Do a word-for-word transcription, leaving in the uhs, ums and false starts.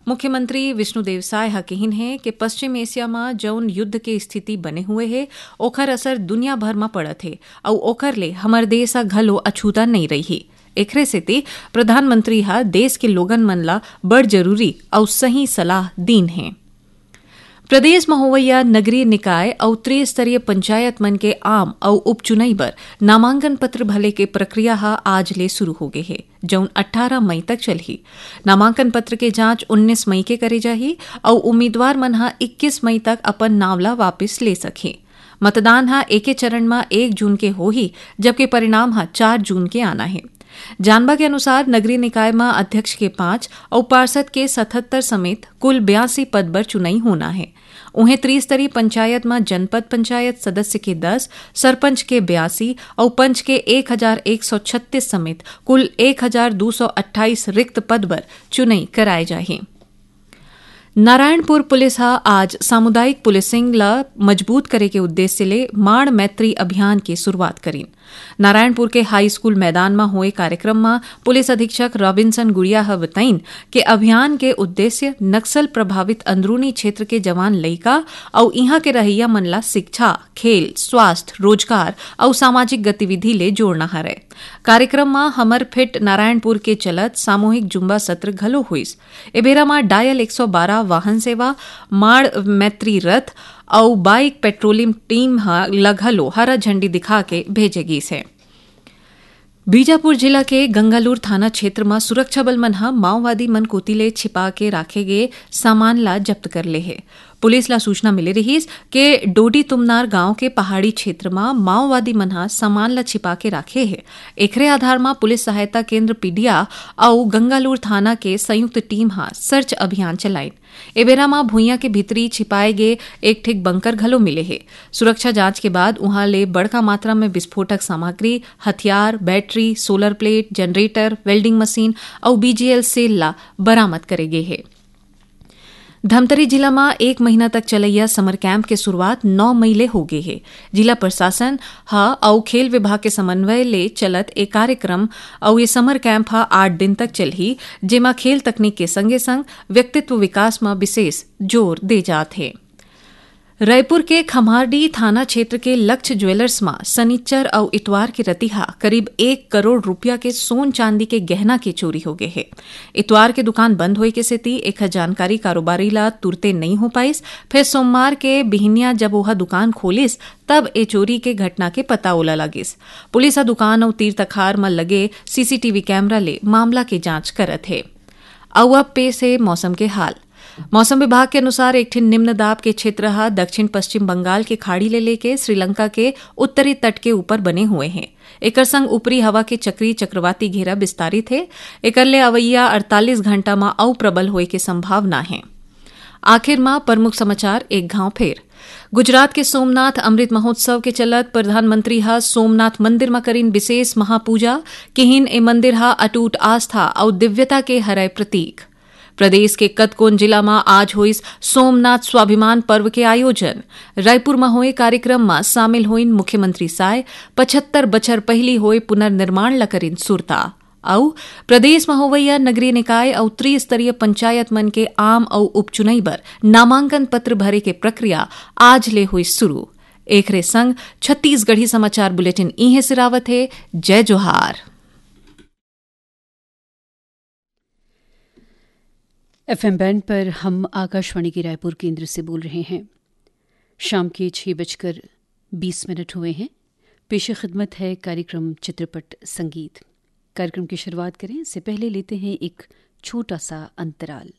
मुख्यमंत्री विष्णुदेव साय ह किहिन हे कि पश्चिम एशिया म जउन युद्ध के स्थिति बने हुए हे, ओखर असर दुनिया भर म पड़त हे, अउ ओखर ले हमर देश ह घलो अछूता नइ रइही। एखरे सेती प्रधानमंत्री ह देश के लोगन मन ला बड़ जरूरी अउ सही सलाह दीन हे। प्रदेश म होवइया नगरीय निकाय अउ त्रिस्तरीय पंचायत मन के आम अउ उपचुनई बर नामांकन पत्र भरे के प्रक्रिया ह आज ले शुरू हो गे हे, जउन अट्ठारह मई तक चलही। नामांकन पत्र के जांच उन्नीस मई के करे जाही अउ उम्मीदवार मन ह इक्कीस मई तक अपन नांव ला वापिस ले सकही। मतदान ह एके चरण म एक जून के होही, जबकि परिणाम ह चार जून के आना हे। जानबा के अनुसार, नगरीय निकाय म अध्यक्ष के पांच अउ पार्षद के सतहत्तर समेत कुल बयासी पद बर चुनई होना हे। उहें, त्रिस्तरीय पंचायत म जनपद पंचायत सदस्य के दस, सरपंच के बयासी अउ पंच के एक हजार एक सौ छत्तीस समेत कुल एक हजार दू सौ अट्ठाईस रिक्त पद बर चुनई कराए जाही। नारायणपुर पुलिस ह आज सामुदायिक पुलिसिंग ल मजबूत करे के उद्देश्य ले माण मैत्री अभियान के शुरुआत करीन। नारायणपुर के हाई स्कूल मैदान म होए कार्यक्रम म पुलिस अधीक्षक रॉबिन्सन गुड़िया ह बताइन के अभियान के उद्देश्य नक्सल प्रभावित अंदरूनी क्षेत्र के जवान लइका अउ इहां के रहइया मन ला शिक्षा, खेल, स्वास्थ्य, रोजगार अउ सामाजिक गतिविधि ले जोड़ना हरय। कार्यक्रम म हमर फिट नारायणपुर के चलत सामूहिक जुम्बा सत्र घलो होइस। ए बेरा म डायल एक सौ बारह वाहन सेवा, माड़ मैत्री रथ अउ बाइक पेट्रोलिंग टीम ह ल घलो हरा झंडी दिखा के भेजे गीस हे। बीजापुर जिला के गंगालूर थाना क्षेत्र म सुरक्षा बल मन ह माओवादी मन कोति ले छिपा के राखे गे सामान ला जब्त कर ले हे। पुलिस ला सूचना मिले रिहिस के डोडी तुमनार गांव के पहाड़ी क्षेत्र म माओवादी मन ह सामान ला छिपा के राखे हे। एखरे आधार म पुलिस सहायता केंद्र पीडिया अउ गंगालूर थाना के संयुक्त टीम ह सर्च अभियान चलाइन। ए बेरा म भुइयां के भीतरी छिपाए गे एक ठिक बंकर घलो मिले हे। सुरक्षा जांच के बाद उहां ले बड़का मात्रा में विस्फोटक सामग्री, हथियार, battery, solar plate, generator, welding machine अउ बीजीएल सेल ला बरामद करे गे हे। धमतरी जिला म एक महीना तक चलइया समर कैंप के शुरुआत नौ मई ले हो गे हे। जिला प्रशासन ह अउ खेल विभाग के समन्वय ले चलत ए कार्यक्रम अउ ये समर कैंप ह आठ दिन तक चलही, जेमा खेल तकनीक के संगे-संग व्यक्तित्व विकास म विशेष जोर दे जात हे। रायपुर के खम्हारडीह थाना क्षेत्र के लक्ष्य ज्वेलर्स म सनिच्चर अउ इतवार के रतिहा करीब एक करोड़ रुपया के सोन चांदी के गहना के चोरी हो गे हे। इतवार के दुकान बंद होए के सेती एखर जानकारी कारोबारी ला तुरते नइ हो पाइस, फेर सोमवार के बिहनिया जब ओहा दुकान खोलिस, तब ए चोरी के घटना के पता ओला लगिस। पुलिस ह दुकान अउ तीर तखार म लगे सीसीटीवी कैमरा ले मामला के जांच करत हे। अउ अब पेश हे मौसम के हाल। मौसम विभाग के अनुसार एक ठिन निम्न दाब के क्षेत्र ह दक्षिण पश्चिम बंगाल के खाड़ी ले लेके श्रीलंका के उत्तरी तट के ऊपर बने हुए हे। एकर संग ऊपरी हवा के चक्रीय चक्रवाती घेरा विस्तारित हे। एकर ले अवइया अड़तालीस घंटा म अउ प्रबल होए के संभावना हे। आखिर म प्रमुख समाचार एक घांव फेर। गुजरात के सोमनाथ अमृत महोत्सव के चलत प्रधानमंत्री ह सोमनाथ मंदिर म करिन विशेष महापूजा, किहिन ए मंदिर ह अटूट आस्था अउ दिव्यता के हरय प्रतीक। प्रदेश के कतकोन जिला म आज होइस सोमनाथ स्वाभिमान पर्व के आयोजन। रायपुर म होए कार्यक्रम म शामिल होइन मुख्यमंत्री साय, पचहत्तर बछर पहिली होए पुनर्निर्माण ल करिन सुरता। अउ प्रदेश म होवइया नगरीय निकाय अउ त्रिस्तरीय पंचायत मन के आम अउ उपचुनई बर नामांकन पत्र भरे के प्रक्रिया आज ले होइस शुरू। एखरे संग छत्तीसगढ़ी समाचार बुलेटिन इहें सिरावत हे। जय जोहार। एफएम बैंड पर हम आकाशवाणी के रायपुर केंद्र से बोल रहे हैं। शाम के छह बजकर बीस मिनट हुए हैं। पेश खिदमत है कार्यक्रम चित्रपट संगीत। कार्यक्रम की शुरुआत करें, इससे पहले लेते हैं एक छोटा सा अंतराल।